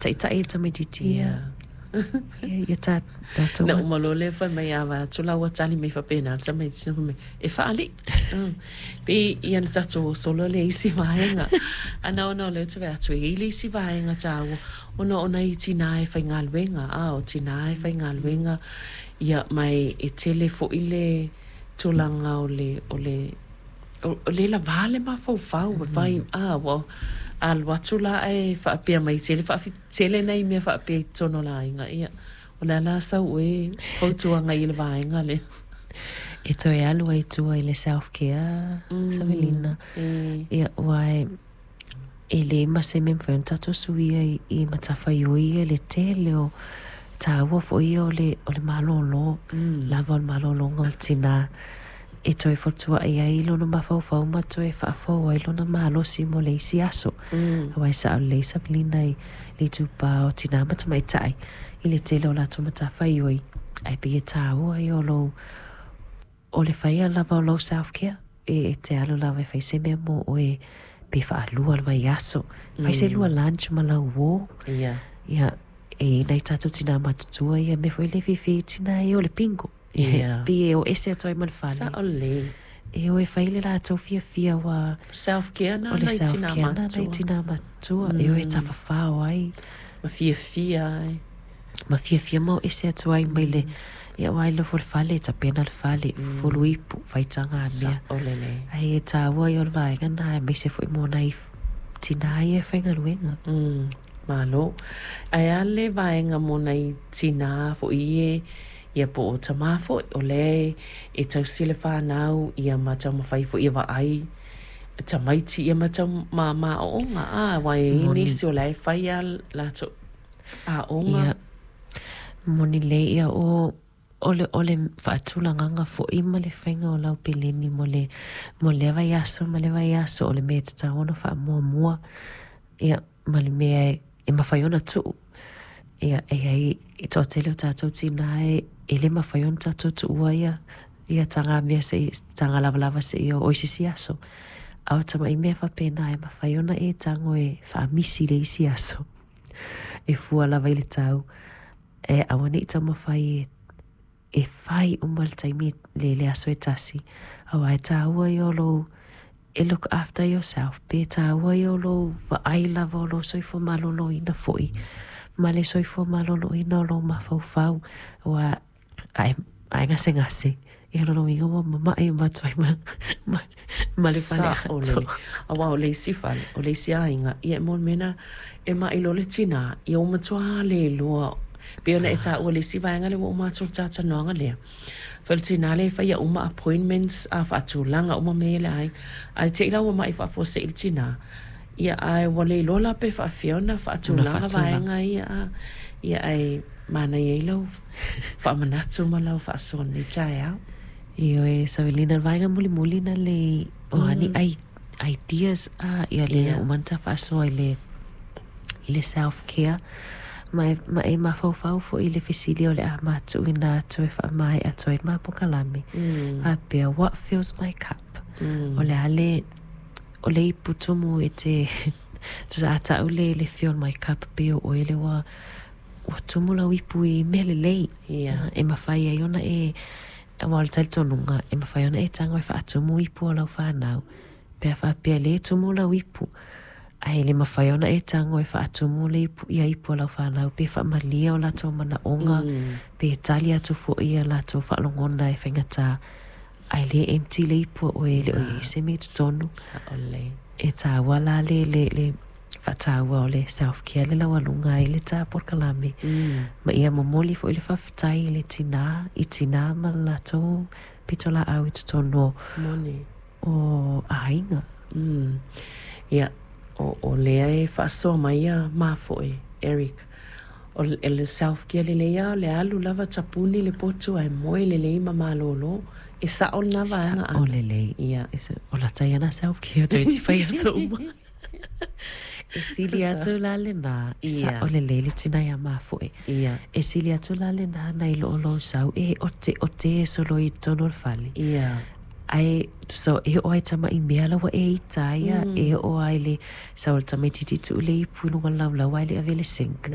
Faataita'i i le tamaitiiti ia ia tatou. Na uma loa lea fai mai a vaai atu la ua tali mai faapena le tamaitiiti fai mai, e faalii. Pei ia na tatou o solo lea i isi vaega. Ana ona o lea ou te vaai atu e i ai le isi vaega taua ona o nai tinā e faigaluega, a o tinā e faigaluega, ia ma e tele foi le tulaga o le, o le, o le lava le mafaufau e fai, a ua alu atu la ae faapea mai tele tele nai mea faapea i totonu o le aiga. Ia, o le a la sau oe fautuaga i le vaega lea? E toe alu ai i tua i le self care, Savelina. Ia, aua e leai ma se mea e mafai ona tatou suia i matafaioi ia i le tele o taua foi ia o le malōlō, lava o le malōlōga o le tinā e toe fotua'i ai lona mafaufau ma toe faafou ai lona malosi mo le isi aso. Aua e sa'o lelei Savelina i le itupa o tinā ma tamaitai i le tele o latou matafaioi, ae pei e tāua ia o lou o le faia lava o lou self care e te alu lava e fai se mea mo oe pe faalua le vaiaso. Fai se lua lunch ma lau uō. Ia, e i ai nai tatou tinā matutua ia mea foi lea e fiafia ai tinā ia o le bingo. Pei e o ese atu ai ma le fale. Sao lelei. E o e fai le latou fiafia ua Self care na o le nai self tinā care na nai matutua. tinā matutua. E o e tafafao ai. Ma fiafia ai. Ma fiafia ma o ese atu ai mai le ia aua e nofo i le fale, tapena le fale, fufulu ipu, fai tagamea. Sao lelei. Ae e tāua ia o le vaega lena aemaise foi mo nai tinā ia e faigaluega. Malo. Ae a le vaega mo nai tinā foi e, ia po o tamā foi, o lea e tausi le fanau ia ma taumafai foi e vaai tamaiti ia ma tau ma ma aoaoga, a, aua e i ai nisi o la e fai lava latou aoga. Ia, moni lelei ia o o le o le faatulagaga foi ma le faiga o lau peleni mo le mo lea vaiaso ma le vaiaso o le mea e tatau ona faamuamua ia ma le mea e mafai ona tuu. Ia e i ai e toatele o tatou tinā e le mafai ona tatou tuua ia ia tagamea seia taga lavalava seia oo i se isi aso. A o tamai mea faapena e mafai ona e tago e faamisi i le isi aso e fua lava i le tau e aua ne i taumafai e e fai uma i le taimi le le aso e tasi. Aua e tāua ia o lou e look after yourself pe tāua ia o lou vaai lava o lou soifua malōlōina foi ma le soifua malōlōina o lou mafaufau aua a e, a e gasegase ia lona uiga ua mama'i uma atu ai ma, ma, ma le fale Sao atoa. lelei. Aua o le isi fale, o le isi aiga, ia e mo le mea na e ma'i loa le tinā, ia ua matua le iloa. Pei ona e taua i le isi vaega lea ua uma atu le talatalanoaga lea. Fai o le tinā lea e faia uma appointments a faatulaga uma mea ia i le aiga. Ae te i la ua ma'i faafuasei le tinā, ia ae ua le iloa la pe faafefea ona Ona faatulaga faatulaga. vaega ia a. Ia ae manaia ai lau faamanatu ma lau faasoa i lenei taeao. Ioe, Savelina, o le vaega mulimuli na lei o a ni ideas a ia lea uma ona ta faasoa i le i le self care ma e, ma e mafaufau foi i le fesili o le a matuuina atu e faamaea atu ai le ma polokalame faapea, what fills my cup? O le a le o le ipu tumu e te tusa a ta'u le le fill my cup pei o oe lea ua ua tumu lau ipu i mea lelei e mafai ai ona e aua o le talitonuga e mafai ona e tago e faatumu ipu o lau fanau pe a faapea lea e tumu lau ipu ae le mafai ona e tago e faatumu le ipu ia ipu o lau fanau pe faamalia o latou manaoga pe tali atu foi ia latou faalogona e faigata ae lē empty le ipu a oe e le o i ai se mea i totonu. Sao lelei. E tāua la le le le faataua o le self care le laualuga ai le ta polokalame ma ia momoli foi le faafetai i le tinā i tinā ma le latou pitolaau i totonu o Moni. o aiga. Ia, o, o lea e faasoa mai ia mafoe, Eric. O le self care lelei lava o le alu lava tapuni le potu ae moe lelei ma malōlō. E sa'o lena vaega Sa'o Ana? lelei. Ia. O lata ia na self care toeitiiti fai aso uma. E sili atu la lenā, e sa'o lelei le tinā iā mafoe. E sili atu la lenā nai lo o lou sau e oteote e solo i totonu o le fale. Ae tusa e oo lava i tama'i mea la ua e ita ai ia, e oo lava i le sau o le tamaitiiti tuu le ipu i luga o le laulau ae le i avea i le sink.